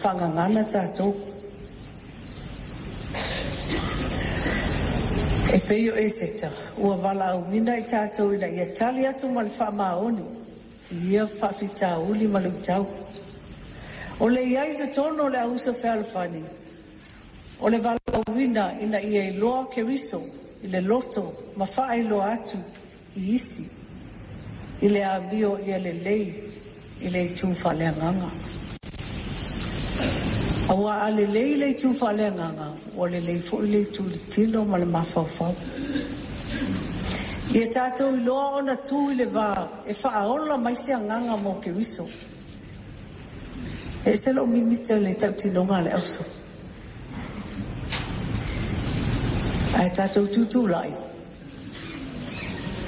Faagagana tatou. E pei o Eseta ua valaauina i tatou ina ia tali atu ma le faamaoni i ia faafitauli ma luitau. O le i ai i totonu o le au uso fealofani, o le valaauina ina ia iloa Keriso i le loto ma faailoa atu i isi i le amio ia lelei i le itu faaleagaga. Aua a lelei le itu faaleagaga, ua lelei foi le itu i le tino ma le mafaufau. Ia tatou iloa ona tu i le va e faaola mai se agaga mo Keriso. E ese lou mimita i le tautinoga a le auso. Ae tatou tutulai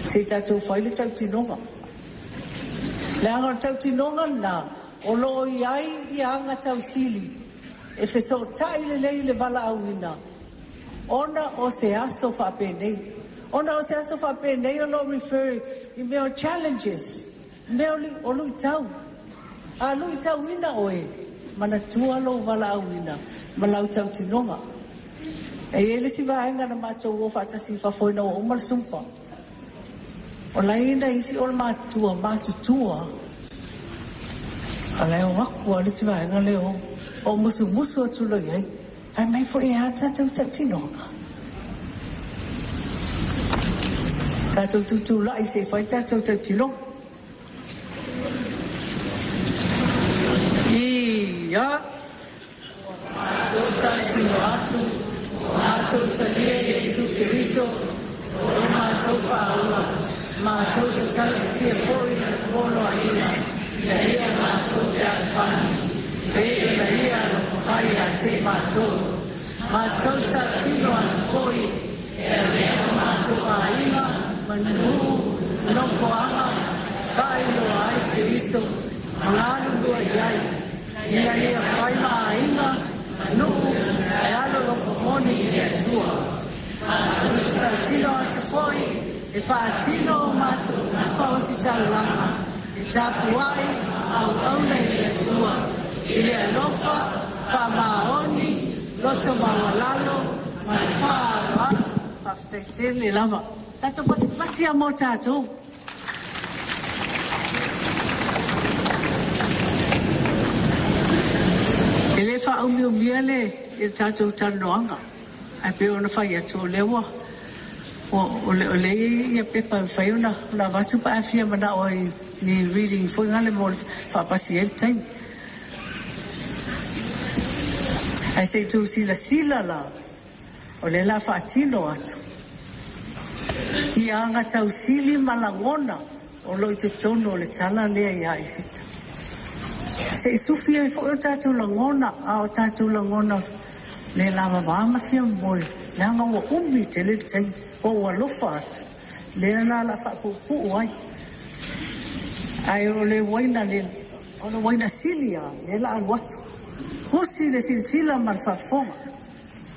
se i tatou fai le tautinoga. Leaga o le tautinoga lena o lo o i ai ia agatausili e fesootai lelei i le valaauina ona o se aso faapenei. Ona o se aso faapenei o lo o refer i mea o challenges, mea o luitau. A luitauina oe, manatua lou valaauina ma lau tautinoga. E i ai le isi vaega na matou o faatasi i fafo ina ua uma le SUMPA. O la e i ai nai isi o matutua lava, a o la e o atu lava le isi vaega lea e o. Ou musumusu atu loa i ai, fai mai foi e a tatou tautinoga? Tatou tutulai se i fai le tatou tautinoga. Ia! Ua matou tautino atu, ua matou talia Iesu Keriso o lo matou Faaola, matou te tautisia foi Lana Poloaiga ina ia matou fealofani, pei ona Ia alofa mai ia te i matou. Matou tautino atu foi, e avea o matou aiga ma nuu, nofoaga, faailoa ai Keriso ma galulue i ai, ina ia fai ma aiga ma nuu e alolofa moni i le Atua. Matou te tautino atu foi e faatino o matou faositalaga e tapuai ma auauna i le Atua i le alofa, faamaoni, loto maualalo ma le faaaloalo. Faafetai tele lava. Tatou patipati lava mo tatou. E le faaumiumia le tatou talanoaga, ae pei ona fai atu o lea ua o lea e i ai pepa e mafai ona avatu pe a fia manao ai i ni reading foi nale mo le faapasi ai le taimi. Ae se i tou silasila la, o lea o le a faatino atu i agatausili ma lagona o lo o i totonu o le tala lea ia Eseta. Se i sufi ai foi o tatou lagona, a o tatou lagona le lavava ma fia moe, leaga ua umi tele le taimi. Ua ou alofa atu, lea la o le a faapuupuu ai. Ae o le uaina sili lava lea o le a alu atu. Usi le silasila ma le faafofoga.